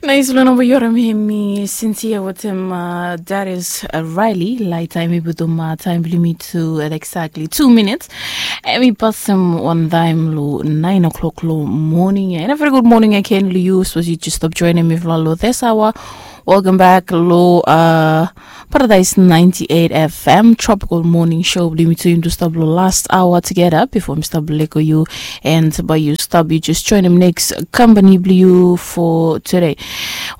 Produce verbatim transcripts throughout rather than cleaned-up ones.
Nais long namba yu harim hemi Cynthia wetem Darius Riley. Laeta hemi putum taem blong yumi tu at exactly tu minits. Hemi pasem wan taem long naen o'clock long moning ia. And a very good morning again long yu sapos yu jes stap joenem mifala long this hour. Welcome back long Paradise ninety-eight F M Tropical Morning Show blong yumi tu. Yumi tu stap long last hour together before mi stap lego yu. And bae yu stap yu jes joenem next company blong yu for today.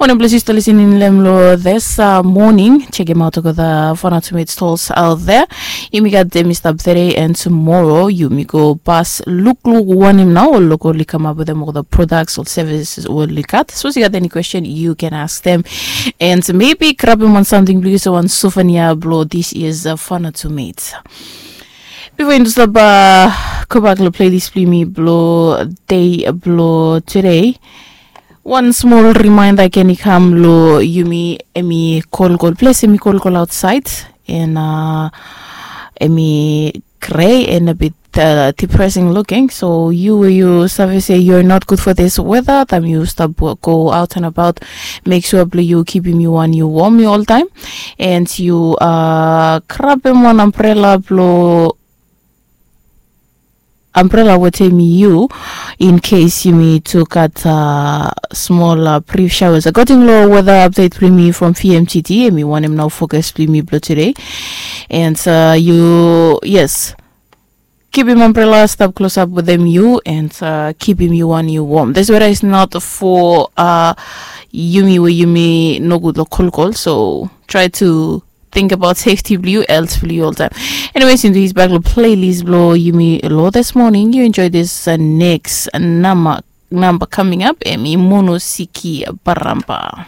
Wanem ples yu stap listening long hem long this morning, check him out olgeta Fana to Meet stalls out there. Yumi gat hemi stap today and tomorrow yumi go pas lukluk wanem nao ol lok oli kamap wetem olgeta products ol services oli gat. Sapos yu gat any question you can ask them. And maybe grabem wan samting blong yu olsem wan souvenir blong this year's Fana to Meet. Bifo yumi stap gobak long playlist blong yumi blong dei blong today, wan smol reminder ken i kam long yumi. Hemi kolkol, ples hemi kolkol aotsaed. And hemi grei and a bit depressing looking. So yu we yu save se you're not good for this weather, taem yu stap go out and about, mek sua blong yu kipim yu wan yu wom yu oltaem. And yu grabem wan ambrela blong ambrela wetem yu in case yumi tu gat smol brief showers. According long weather update blong yumi from V M T D, hemi wanem nao focus blong yumi blong today. And yu, yes, kipim ambrela, stap klosap wetem yu and kipim yu wan yu wom. This weather is not for yumi we yumi nogud long kolkol, so try to think about safety blong yu, health blong yu oltaem. Anyways, into his bag long playlist blong yumi long this morning. You enjoy this next number coming up. Hemi Mono Siki Baramba.